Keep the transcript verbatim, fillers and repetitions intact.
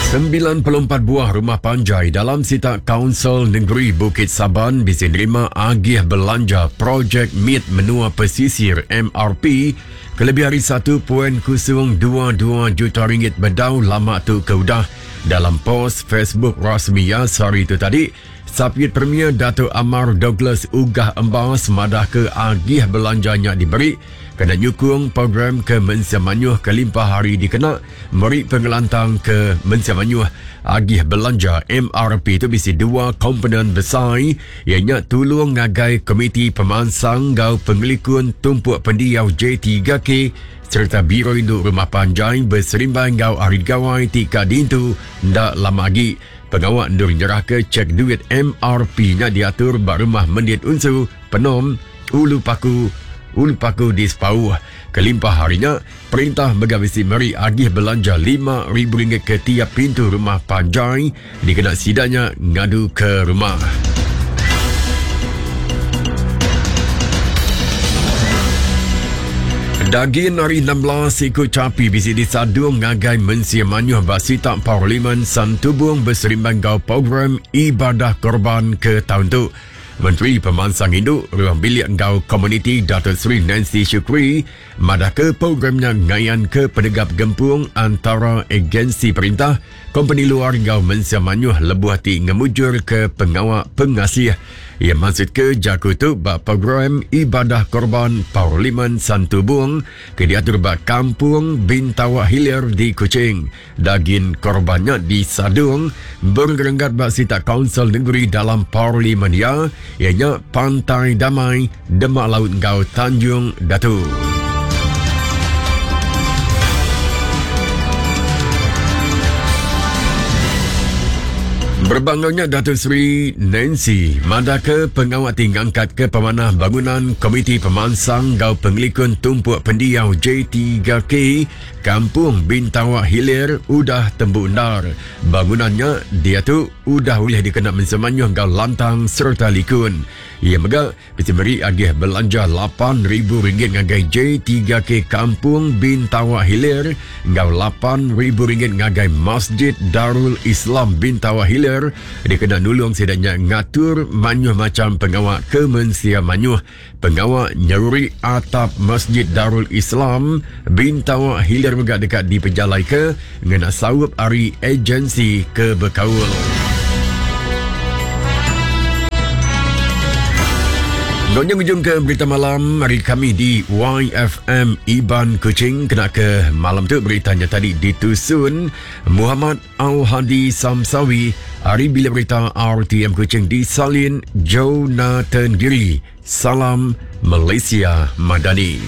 sembilan puluh empat buah rumah panjai dalam sitak Kaunsil Negeri Bukit Saban bisa nerima agih belanja projek M I T Menua Pesisir M R P kelebih hari satu titik kosong dua dua juta ringgit bedau lama tu ke udah. Dalam post Facebook rasmi ya sehari itu tadi, Sapit Premier Dato' Amar Douglas Uggah Embas madah ke agih belanjanya diberi kena nyukung program ke Mensia Manyuh kelimpah hari dikena meri pengelantang ke Mensia Manyuh. Agih belanja M R P itu bisi dua komponen besar, ianya tulung ngagai Komiti Pemansang Gau Pengelikun Tumpuk Pendiau J tiga K serta Biro Induk Rumah Panjai berserimbai Gau Hari Gawai Tika Dintu ndak lama lagi. Pengawak ndur nyerah ke cek duit M R P-nya diatur bak rumah Mendit Unsu, Penom, Ulu Paku, Ulu Paku di Sepauh. Kelimpah harinya, perintah megawisi meri agih belanja lima ribu ringgit ke tiap pintu rumah panjai dikena sidanya ngadu ke rumah. Daging hari enam belas ikut capi bisi disadung ngagai Mensia Manyuh Basitak Parlimen Santubong berserimbang gau program ibadah korban ke tahun tu. Menteri Pemansang Induk Ruang Bilik Gau Komuniti Dato' Sri Nancy Shukri madah ke programnya ngayan ke penegap gempung antara agensi perintah, kompeni luar gau Mensia Manyuh lebuh ti ngemujur ke pengawak pengasih. Ia maksud ke jaku tu bak program ibadah korban Parlimen Santubong ke diatur bak Kampung Bintawak Hilir di Kuching. Daging korbannya disadung bergerenggat bak sitak Kaunsil Negeri dalam Parlimen ya, ianya Pantai Damai, Demak Laut Gau Tanjung Datu. Berbangaunya Dato' Sri Nancy madah ke pengawak tingangkat ke pemanah bangunan Komiti Pemansang Gau Pengelikun Tumpuk Pendiau J tiga K Kampung Bintawak Hilir udah tembu endar. Bangunannya dia tu udah boleh dikena mensemanyuh gau lantang serta likun. Ia mega mesti beri agih belanja lapan ribu ringgit ngagai J tiga K Kampung Bintawak Hilir ngau lapan ribu ringgit ngagai Masjid Darul Islam Bintawak Hilir dikena nulung sidaknya ngatur manyuh macam pengawak ke Mensia Manyuh. Pengawak nyeruri atap Masjid Darul Islam Bintawak Hilir mega dekat di pejalai ke ngena saup ari agensi ke Bekaul. Nonnya ujung ke berita malam hari kami di Y F M Iban Kuching. Kena ke malam tu beritanya tadi ditusun Muhammad Al-Hadi Samsawi. Hari bila berita R T M Kuching disalin Jonathan Giri. Salam Malaysia Madani.